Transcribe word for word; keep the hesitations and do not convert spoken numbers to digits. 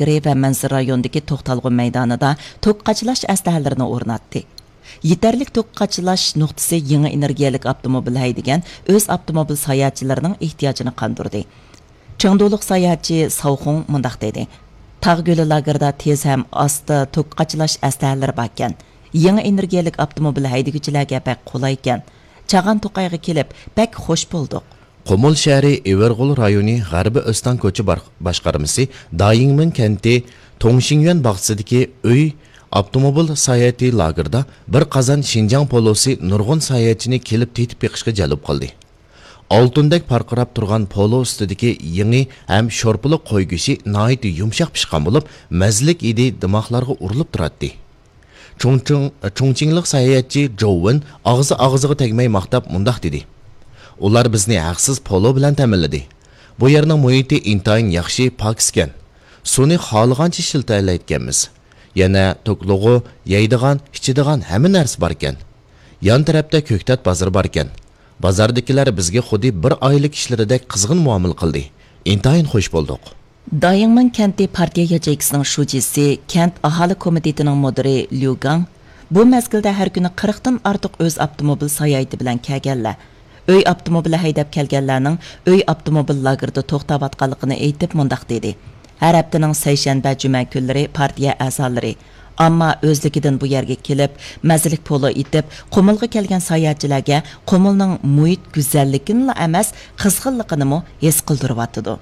لاگېرى ۋە مەنزىرە رايونىدىكى توختالغۇ مەيدانىدا توك قاچىلاش ئەسلىھەلىرىنى ئورناتتى. يېتەرلىك توك قاچىلاش نۇقتىسى يېڭى ئېنېرگىيەلىك ئاپتوموبىل ھەيدىگەن ئۆز ئاپتوموبىل ساياھەتچىلىرىنىڭ ئېھتىياجىنى قاندۇردى. چېڭدۇلۇق ساياھەتچى ساۋخۇڭ مۇنداق دېدى: تاغ گۈلى لاگېرىدا تېز ھەم ئاستا توك قاچىلاش ئەسلىھەلىرى باركەن. يېڭى ئېنېرگىيەلىك ئاپتوموبىل ھەيدىگۈچىلەرگە بەك قولايكەن. چاغان توقايغا كېلىپ، بەك خوش بولدۇق. قۇمۇل شەھىرى ئېۋەرغول رايونى غەربىي ئۆستەڭ كوچا بار-، باشقارمىسى دايىڭمېن كەنتى توڭشىڭيۈەن باغچىسىدىكى ئۆي ئاپتوموبىل ساياھىتى لاگېرىدا بىر قازان شىنجاڭ پولوسى نۇرغۇن ساياھەتچىنى كېلىپ تېتىپ بېقىشقا جەلپ قىلدى. ئالتۇندەك پارقىراپ تۇرغان پولو ئۈستىدىكى يېڭى ھەم شورپىلىق قوي گۆشى ناھايىتى يۇمشاق پىشقان بولۇپ، مەززىلىك ھىدى دىماقلارغا ئۇرۇلۇپ تۇراتتى. چۇڭچىڭ-، چۇڭچىڭلىق ساياھەتچى جوۋېن ئاغزى ئاغزىغا تەگمەي ماختاپ مۇنداق دېدى: ئۇلار بىزنى ھەقسىز پولو بىلەن تەمىنلىدى. بۇ يەرنىڭ مۇھىتى ئىنتايىن ياخشى، پاكىزكەن. سۇنى خالىغانچە ئىشلىتەلەيدىكەنمىز. يەنە توكلىغۇ، يەيدىغان، ئىچىدىغان ھەممە نەرسە باركەن. يان تەرەپتە كۆكتات بازىرى باركەن. بازاردىكىلەر بىزگە خۇددى بىر ئائىلە كىشىلىرىدەك قىزغىن مۇئامىلە قىلدى. ئىنتايىن خوش بولدۇق. دايىڭمېن كەنتى پارتىيە ياچېيكىسىنىڭ شۇجىسى، كەنت ئاھالە كومىتېتىنىڭ مۇدىرى ليۇ گاڭ بۇ مەزگىلدە ھەر كۈنى قىرىقتىن ئارتۇق ئۆز ئاپتوموبىل ساياھىتى بىلەن كەلگەنلەر، ئۆي ئاپتوموبىلى ھەيدەپ كەلگەنلەرنىڭ ئۆي ئاپتوموبىل لاگېرىدا توختاۋاتقانلىقىنى ئېيتىپ مۇنداق دېدى: ھەر ھەپتىنىڭ سەيشەنبە، جۈمە كۈنلىرى پارتىيە ئەزالىرى، ئامما ئۆزلۈكىدىن بۇ يەرگە كېلىپ، مەززىلىك پولۇ ئېتىپ، قۇمۇلغا كەلگەن ساياھەتچىلەرگە قۇمۇلنىڭ مۇھىت گۈزەللىكىنىلا ئەمەس، قىزغىنلىقىنىمۇ ھېس قىلدۇرۇۋاتىدۇ.